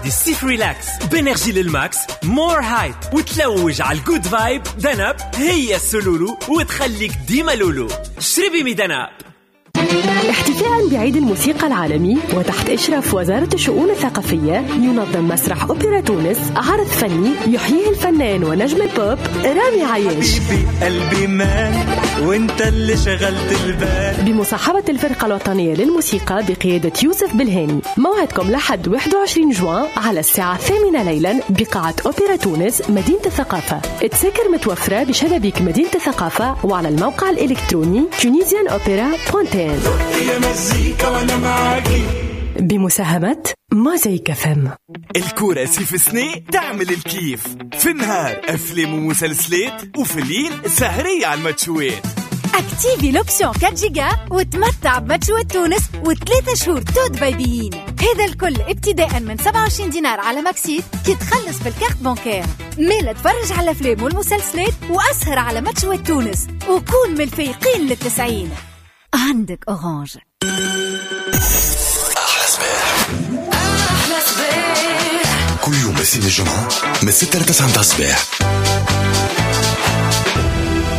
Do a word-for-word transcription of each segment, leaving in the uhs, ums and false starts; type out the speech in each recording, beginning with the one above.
تعدي الصيف relax ب énergie لل max، more hype، وتلوج على ال good vibe. دنب هي السلولو وتخليك ديما لولو. شربي مي دنب. احتفاء بعيد الموسيقى العالمي وتحت إشراف وزارة الشؤون الثقافية، ينظم مسرح أوبرا تونس عرض فني يحييه الفنان ونجم البوب رامي عياش. حبيبي قلبي مال وانت اللي شغلت البال، بمصاحبة الفرقة الوطنية للموسيقى بقيادة يوسف بالهاني. موعدكم لحد واحد وعشرين جوان على الساعة الثامنة ليلا بقاعة أوبرا تونس مدينة الثقافة. التذاكر متوفرة بشبابيك مدينة الثقافة وعلى الموقع الإلكتروني tunisian opera dot t n. يا مزيكا وانا معاكي. بمساهمة موزايك فم. الكورة سيف سني تعمل الكيف. في النهار أفلام ومسلسلات، وفي الليل سهرية على الماتشوات. activer l'option أربعة جيجا وتمتع بماتشوات تونس وثلاثة شهور tout بايبيين. هذا الكل ابتداء من سبعة وعشرين دينار على ماكسيت كي تخلص بال carte bancaire. مالا تفرج على الافلام والمسلسلات واسهر على ماتشوات تونس وكون من الفايقين للتسعين. عندك أورانج. أحلى صباح. أحلى صباح كل يوم الاثنين الجمعة من ستة لتسعة متاع الصباح.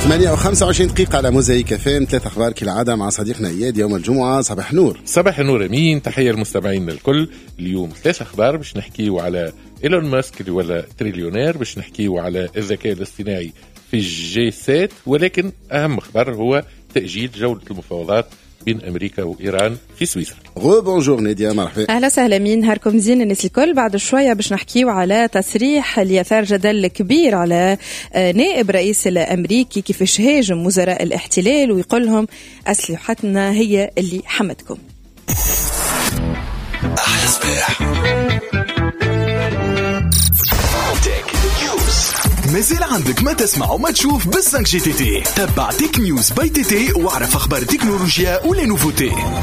ثمانية وخمسة وعشرين دقيقة على موزايك فام. ثلاث أخبار كالعادة مع صديقنا إياد يوم الجمعة. صباح نور. صباح النور أمين، تحية المستمعين الكل. اليوم ثلاث أخبار باش نحكيو على إيلون ماسك اللي ولا تريليونير، باش نحكيو على الذكاء الاصطناعي في ال G sept، ولكن أهم خبر هو تأجيل جولة المفاوضات بين أمريكا وإيران في سويسرا. rebonjour نادية، مرحبا. أهلا وسهلا مين، نهاركم زين الناس الكل. بعد شوية باش نحكيو على تصريح اللي أثار جدل كبير على نائب رئيس الأمريكي كيفاش هاجم وزراء الاحتلال ويقول لهم أسلحتنا هي اللي حمتكم. أحلى صباح. مازال عندك ما تسمع وما تشوف بال cinq G TT. تبع Tech News by TT واعرف اخبار التكنولوجيا و les nouveautés.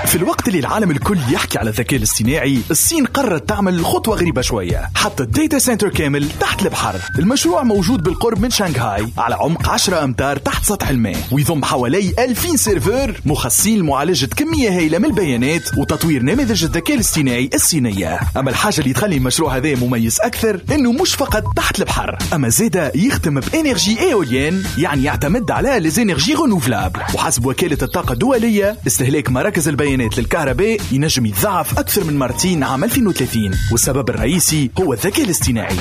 في الوقت اللي العالم الكل يحكي على الذكاء الاصطناعي، الصين قررت تعمل خطوة غريبة شوية، حطت data center كامل تحت البحر. المشروع موجود بالقرب من شنغهاي على عمق عشرة أمتار تحت سطح الماء، ويضم حوالي ألفين serveur مخصصين لمعالجة كمية هائلة من البيانات وتطوير نماذج الذكاء الاصطناعي الصينية. أما الحاجة اللي تخلي المشروع هذا مميز أكثر إنه مش فقط تحت البحر، أما زادة يخدم ب énergie éolienne، يعني يعتمد على les énergies renouvelables. وحسب وكالة الطاقة الدولية، استهلاك مراكز البيانات للكهرباء ينجم يتضاعف أكثر من مرتين عام ألفين وثلاثين، والسبب الرئيسي هو الذكاء الاصطناعي.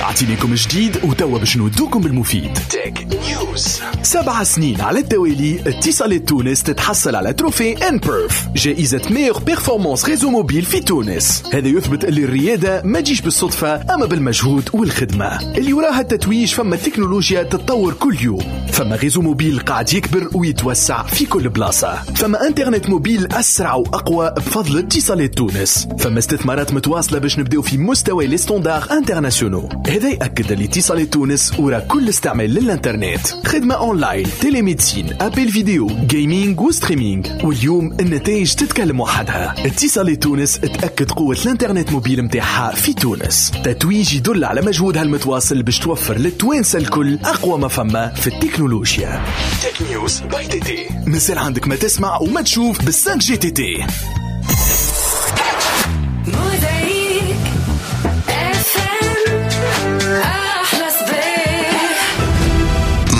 أعطينيكم جديد وتوا باش نودوكم بالمفيد. Tech News. سبع سنين على التوالي اتصالات تونس تتحصل على trophée nPerf، جائزة meilleure performance réseau mobile في تونس. هذا يثبت اللي الريادة ما تجيش بالصدفة، أما بالمجهود والخدمة اللي وراها التتويج. فما تكنولوجيا تتطور كل يوم، فما réseau mobile قاعد يكبر ويتوسع في كل بلاصة، فما انترنت mobile أسرع وأقوى بفضل اتصالات تونس، فما استثمارات متواصلة باش نبداو في مستوى les standards internationaux. هذا يأكد اللي اتصالات تونس ورا كل استعمال للانترنت، خدمة online، télémédecine، appel vidéo، gaming و streaming. واليوم النتائج تتكلم وحدها. اتصالات تونس تأكد قوة الانترنت موبيل متاعها في تونس. تتويج يدل على مجهودها المتواصل باش توفر للتوانسة الكل أقوى ما فما في التكنولوجيا. Tech News by TT. مثال عندك ما تسمع وما تشوف بال cinq G TT.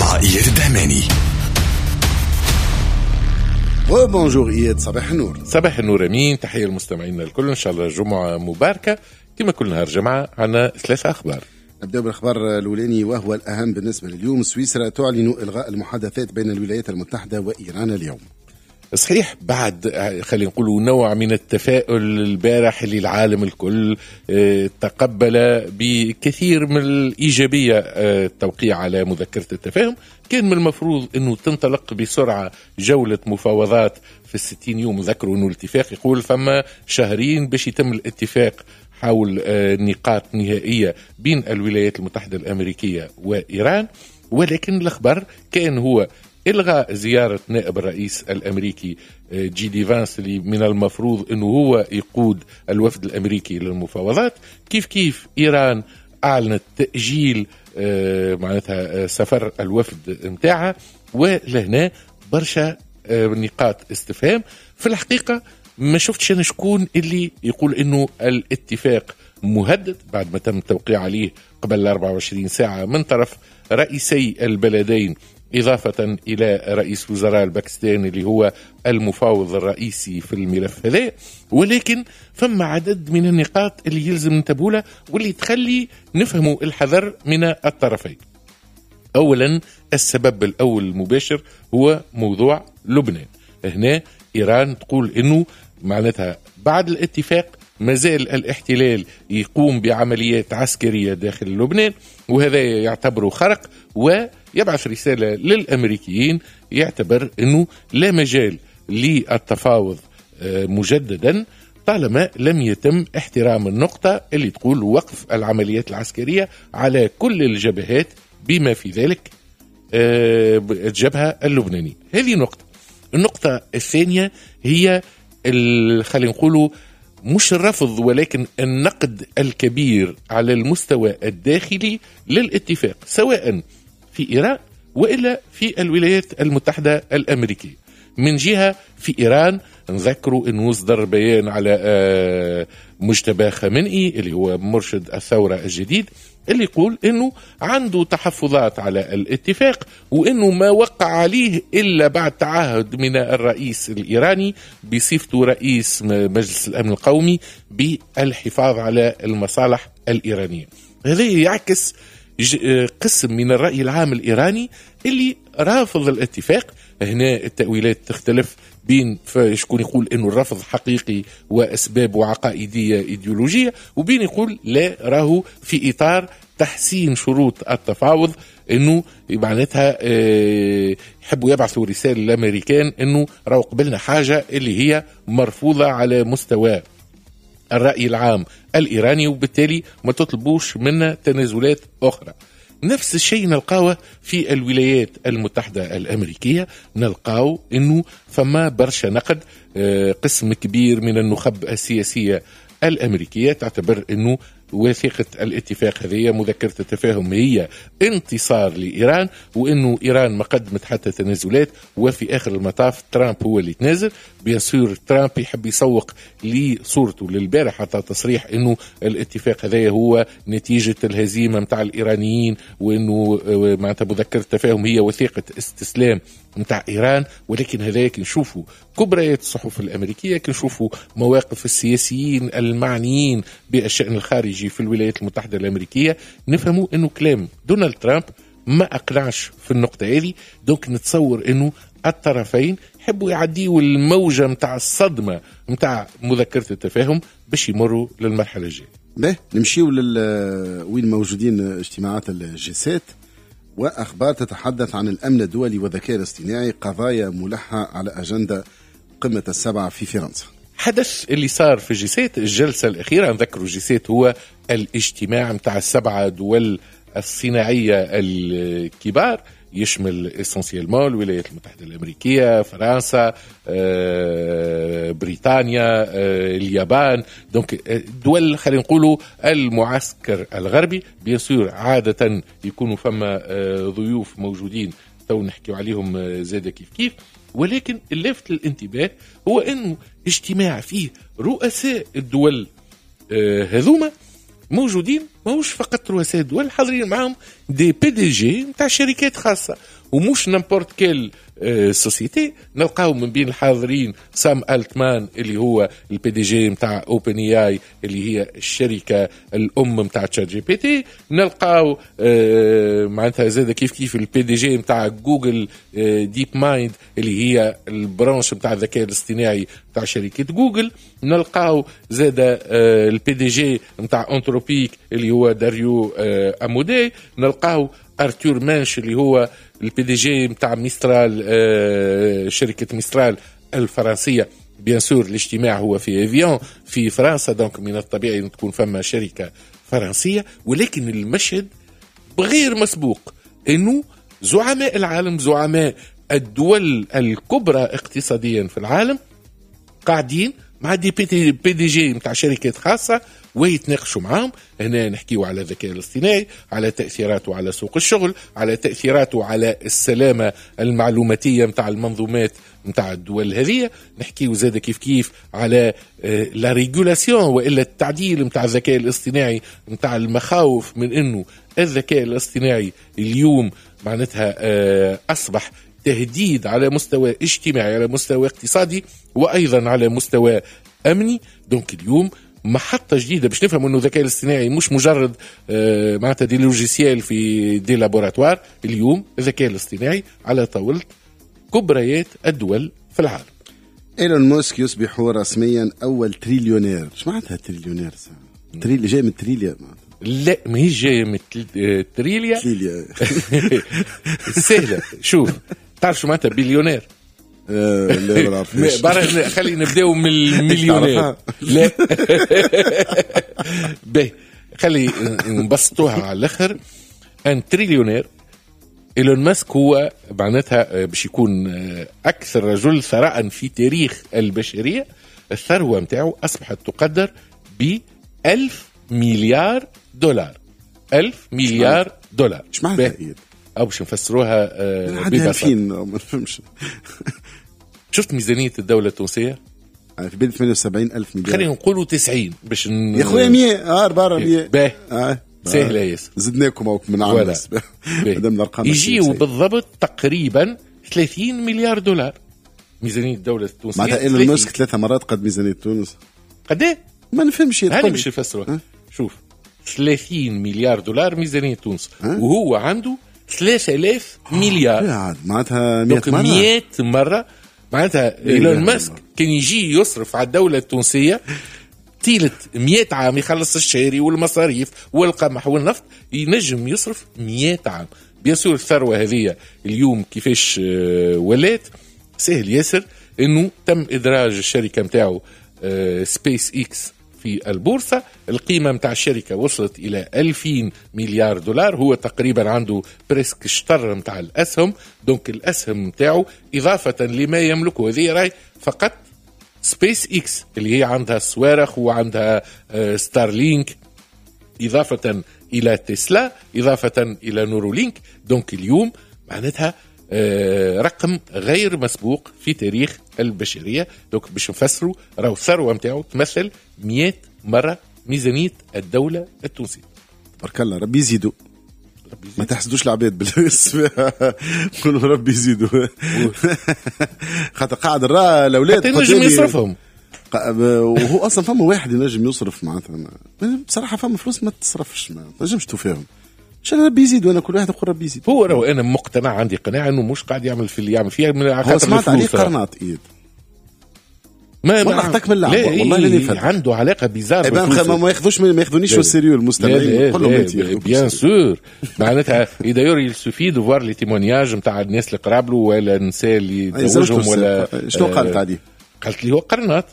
مع إياد الدهماني. bonjour إياد، صباح النور. صباح النور أمين، تحية للمستمعين الكل، إن شاء الله جمعة مباركة. كما كل نهار جمعة عنا ثلاثة أخبار. نبدأ بالخبر الأولاني وهو الأهم بالنسبة لليوم. سويسرا تعلن إلغاء المحادثات بين الولايات المتحدة وإيران اليوم. صحيح، بعد خلينا نقولوا نوع من التفاؤل البارح اللي العالم الكل تقبل بكثير من الإيجابية التوقيع على مذكرة التفاهم، كان من المفروض أنه تنطلق بسرعة جولة مفاوضات في الستين يوم. ذكروا أنه الاتفاق يقول فما شهرين باش يتم الاتفاق حول نقاط نهائية بين الولايات المتحدة الأمريكية وإيران، ولكن الأخبار كان هو إلغاء زيارة نائب الرئيس الأمريكي جي دي فانس اللي من المفروض أنه هو يقود الوفد الأمريكي للمفاوضات. كيف كيف إيران أعلنت تأجيل معناتها سفر الوفد متاعها، ولهنا برشا نقاط استفهام. في الحقيقة ما شفتش أنا شكون اللي يقول إنه الاتفاق مهدد بعد ما تم التوقيع عليه قبل أربعة وعشرين ساعة من طرف رئيسي البلدين، إضافة إلى رئيس وزراء الباكستان اللي هو المفاوض الرئيسي في الملف هذا. ولكن فما عدد من النقاط اللي يلزم ننتبهوا لها واللي تخلي نفهموا الحذر من الطرفين. أولا، السبب الأول المباشر هو موضوع لبنان. هنا إيران تقول إنه معناتها بعد الاتفاق ما زال الاحتلال يقوم بعمليات عسكرية داخل لبنان، وهذا يعتبره خرق، ويبعث رسالة للأمريكيين يعتبر أنه لا مجال للتفاوض مجددا طالما لم يتم احترام النقطة اللي تقول وقف العمليات العسكرية على كل الجبهات بما في ذلك الجبهة اللبنانية. هذه نقطة. النقطة الثانية هي خلينا نقولوا مش الرفض ولكن النقد الكبير على المستوى الداخلي للاتفاق، سواء في إيران وإلا في الولايات المتحدة الأمريكية. من جهة في إيران نذكروا أنه صدر بيان على مجتبى خامنئي اللي هو مرشد الثورة الجديد، اللي يقول أنه عنده تحفظات على الاتفاق، وأنه ما وقع عليه إلا بعد تعهد من الرئيس الإيراني بصفته رئيس مجلس الأمن القومي بالحفاظ على المصالح الإيرانية. هذا يعكس قسم من الرأي العام الإيراني اللي رافض الاتفاق. هنا التأويلات تختلف بين شكون يقول أنه الرفض حقيقي وأسبابه عقائدية إيديولوجية، وبين يقول لا، راهو في إطار تحسين شروط التفاوض، أنه معناتها يحبوا يبعثوا رسالة للأمريكان أنه راهو قبلنا حاجة اللي هي مرفوضة على مستوى الرأي العام الإيراني، وبالتالي ما تطلبوش منا تنازلات أخرى. نفس الشيء نلقاوه في الولايات المتحدة الأمريكية، نلقاو أنه فما برشا نقد، قسم كبير من النخب السياسية الأمريكية تعتبر أنه وثيقة الاتفاق هذه مذكرة التفاهم هي انتصار لإيران، وأنه إيران ما قدمت حتى تنازلات، وفي آخر المطاف ترامب هو اللي تنازل. bien sûr ترامب يحب يسوق لصورته للبارح حتى تصريح أنه الاتفاق هذا هو نتيجة الهزيمة متاع الإيرانيين، وأنه معناتها مذكرة التفاهم هي وثيقة استسلام متاع إيران. ولكن هذاك نشوفوا كبريات الصحف الأمريكية، كنشوفوا مواقف السياسيين المعنيين بالشأن الخارجي في الولايات المتحدة الأمريكية، نفهموا أنه كلام دونالد ترامب ما أقنعش في النقطة هذه. donc نتصور أنه الطرفين يحبوا يعديوا الموجة متاع الصدمة متاع مذكرة التفاهم باش يمروا للمرحلة الجاية. باهي، نمشيو لل وين موجودين اجتماعات ال G sept وأخبار تتحدث عن الأمن الدولي والذكاء الاصطناعي، قضايا ملحة على أجندة قمة السبعة في فرنسا. حدث اللي صار في G sept الجلسة الأخيرة، نذكروا G sept هو الاجتماع متاع السبعة دول الصناعية الكبار، يشمل essentiellement الولايات المتحدة الأمريكية، فرنسا، بريطانيا، اليابان، donc دول خلينا نقولوا المعسكر الغربي. bien sûr عادة يكونوا فما ضيوف موجودين تو نحكيو عليهم زادة كيف كيف، ولكن اللافت للانتباه هو أنه اجتماع فيه رؤساء الدول هذوما موجودين، ماهوش فقط رؤساء الدول، حاضرين معهم des PDG نتاع شركات خاصة، ومش n'importe quelle société. نلقاو من بين الحاضرين سام التمان اللي هو ال PDG نتاع OpenAI اللي هي الشركة الام نتاع ChatGPT، نلقاو معناتها زاد كيف كيف ال PDG نتاع جوجل DeepMind اللي هي ال branche نتاع الذكاء الاصطناعي نتاع شركة جوجل، نلقاو زاد ال PDG نتاع Anthropic اللي هو داريو امودي، نلقاو ارتور مانش اللي هو ال PDG نتاع ميسترال، شركة ميسترال الفرنسية. bien sûr الاجتماع هو في ايفيان في فرنسا، donc من الطبيعي ان تكون فما شركة فرنسية، ولكن المشهد بغير مسبوق انه زعماء العالم، زعماء الدول الكبرى اقتصاديا في العالم، قاعدين مع des PDG نتاع شركات خاصة ويتناقشوا معاهم. هنا نحكيو على الذكاء الاصطناعي، على تاثيراته على سوق الشغل، على تاثيراته على السلامة المعلوماتيه نتاع المنظومات نتاع الدول هذه. نحكيو زاد كيف كيف على la régulation والا التعديل نتاع الذكاء الاصطناعي، نتاع المخاوف من انه الذكاء الاصطناعي اليوم معناتها اصبح تهديد على مستوى اجتماعي، على مستوى اقتصادي، وايضا على مستوى امني. donc اليوم محطة جديدة باش نفهم انه الذكاء الاصطناعي مش مجرد آه معناتها des logiciels في des laboratoires. اليوم الذكاء الاصطناعي على طاولة كبريات الدول في العالم. ايلون ماسك يصبح رسميا اول تريليونير. ايش معناتها تريليونير؟ تريل جاي من تريليا؟ لا ماهيش جاية من تريليا. تريليا سهلة. شوف تعرف شو معناتها بليونير؟ آه لا ما نعرفش. خلينا نبداو من المليونير. لا باهي خلي نبسطوها على الاخر. un trillionnaire ايلون ماسك هو معناتها باش يكون اكثر رجل ثراء في تاريخ البشرية. الثروة نتاعو اصبحت تقدر ب ألف مليار دولار. ألف مليار دولار. ايش معناتها؟ او باش نفسروها ببساطة ما نفهمش. شفت ميزانية الدولة التونسية؟ في بالي ثمانية وسبعين ألف مليار. خلينا نقولوا تسعين باش ن... يا خويا مية اه أربعة مية. باهي آه. سهلة ياسر. زدناكم من عام مادام الارقام يجيو بالضبط تقريبا ثلاثين مليار دولار ميزانية الدولة التونسية. معناتها ايلون ماسك ثلاثة مرات قد ميزانية تونس. قد ايه؟ ما نفهمش. هاني باش نفسروها. شوف ثلاثين مليار دولار ميزانية تونس أه؟ وهو عنده ثلاثة آلاف مليار. معناتها مية مرة. مية مرة. معناتها ايلون ماسك كان يجي يصرف على الدولة التونسية طيلة مية عام، يخلص الشاري والمصاريف والقمح والنفط، ينجم يصرف مية عام. bien sûr الثروة هذه اليوم كيفاش ولات سهل ياسر انه تم ادراج الشركة نتاعو سبيس اكس في البورصة. القيمة متاع الشركة وصلت إلى ألفين مليار دولار. هو تقريبا عنده presque شطر متاع الأسهم. donc الأسهم متاعه إضافة لما يملكه هذه راي فقط سبيس إكس اللي هي عندها الصواريخ وعندها ستارلينك، إضافة إلى تسلا، إضافة إلى نورولينك. donc اليوم معناتها رقم غير مسبوق في تاريخ البشرية. donc باش نفسروا راهو الثروة نتاعو تمثل مية مرة ميزانية الدولة التونسية. تبارك الله ربي يزيدو. ما تحسدوش العباد بالاسم، قولوا ربي يزيدو. خاطر قاعد راه الاولاد ينجم يصرفهم، وهو اصلا فما واحد ينجم يصرف معناتها. بصراحة فما فلوس ما تصرفش، ما تنجمش توفيهم. شان ربي يزيد، وانا كل واحد يقول ربي يزيد. هو راهو انا مقتنع، عندي قناعة انه مش قاعد يعمل في اللي يعمل فيها من خاطر سمعت عليه قرناط ايد ما والله اخطاك من اللعبة والله لاني فات عنده علاقة bizarre. ما ياخذوش ما ياخذونيش au sérieux المستمعين، قول لهم انت bien sûr معناتها d'ailleurs il suffit de voir les témoignages نتاع الناس اللي قراب له ولا النساء اللي تزوجهم ولا شنو قالت عليه؟ قالت لي هو قرناط.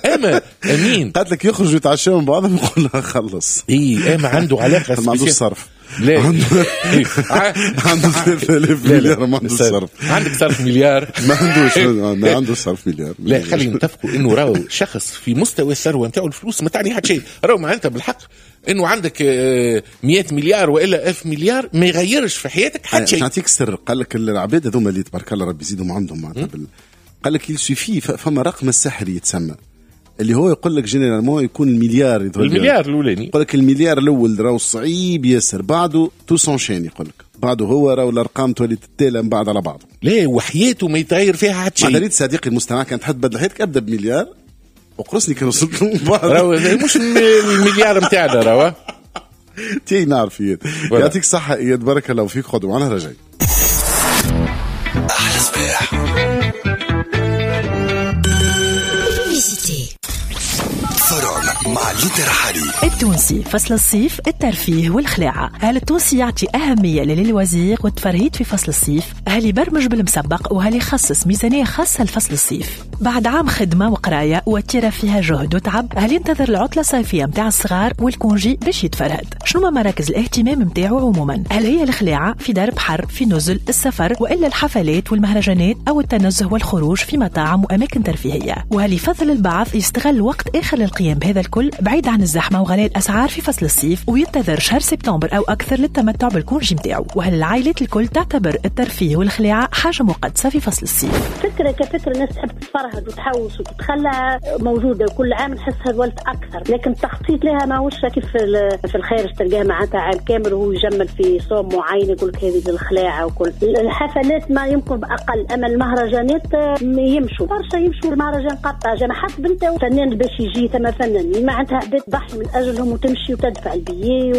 اما امين قالت لك يخرجوا يتعشوا من بعضهم يقول لها خلص. اي اما عنده علاقة ما عندوش صرف. لا عنده ثلاثة آلاف مليار ما عندوش صرف. عندك صرف مليار؟ ما عندوش، ما عندوش صرف مليار. لا خلينا نتفقوا انه راهو شخص في مستوى الثروة نتاعو الفلوس ما تعني حتى شيء. راهو معناتها بالحق انه عندك مية مليار والا ألف مليار ما يغيرش في حياتك حتى شيء. نعطيك سر، قال لك العباد هذوما اللي تبارك الله ربي يزيدهم عندهم معناتها قال لك il suffit فما رقم السحري يتسمى اللي هو يقول لك généralement يكون المليار المليار الاولاني. يقول لك المليار الاول راهو صعيب ياسر، بعده tout s'enchaîne. يقول لك بعده هو راهو الارقام تولي تتالى من بعد على بعض. لا وحياته ما يتغير فيها حتى شيء. معناتها صديقي المستمع كان تحب تبدل حياتك ابدا بمليار وقرصني كان وصلت له من بعد. راهو مش المليار نتاعنا راهو تي نعرف. يعطيك الصحة اياد، بارك الله فيك. خذوا معنا رجعي احلى صباح. Forum مع ليندا رحالي. التونسي فصل الصيف، الترفيه والخلاعة. هل التونسي يعطي أهمية لل loisirs والتفرهيد في فصل الصيف؟ هل يبرمج بالمسبق وهل يخصص ميزانية خاصة لفصل الصيف؟ بعد عام خدمة وقراية وتيرة فيها جهد وتعب، هل ينتظر العطلة الصيفية متاع الصغار وال congé باش يتفرهد؟ شنو ما مراكز الاهتمام متاعه عموما؟ هل هي الخلاعة في دار بحر، في نزل، السفر، وإلا الحفلات والمهرجانات أو التنزه والخروج في مطاعم وأماكن ترفيهية؟ وهل يفضل البعض يستغل وقت آخر للقيام بهذا الكل بعيد عن الزحمة وغلاء الأسعار في فصل الصيف وينتظر شهر سبتمبر أو أكثر للتمتع بال congé متاعه؟ وهل العائلات الكل تعتبر الترفيه والخلاعة حاجة مقدسة في فصل الصيف؟ فكرة كفكرة الناس تحب تتفرهد وتحوس وتتخلى موجودة، وكل عام نحسها ولت أكثر، لكن التخطيط لها ماهوش كيف في الخارج تلقاها معناتها عام كامل وهو يجمل في صوم معين يقول لك هذه الخلاعة وكل الحفلات ما يمكن بأقل، أما المهرجانات يمشوا برشا، يمشوا المهرجان قرطاجة حسب انت فنان باش يجي ثم فنان معناتها تضحي من اجلهم وتمشي وتدفع البيي.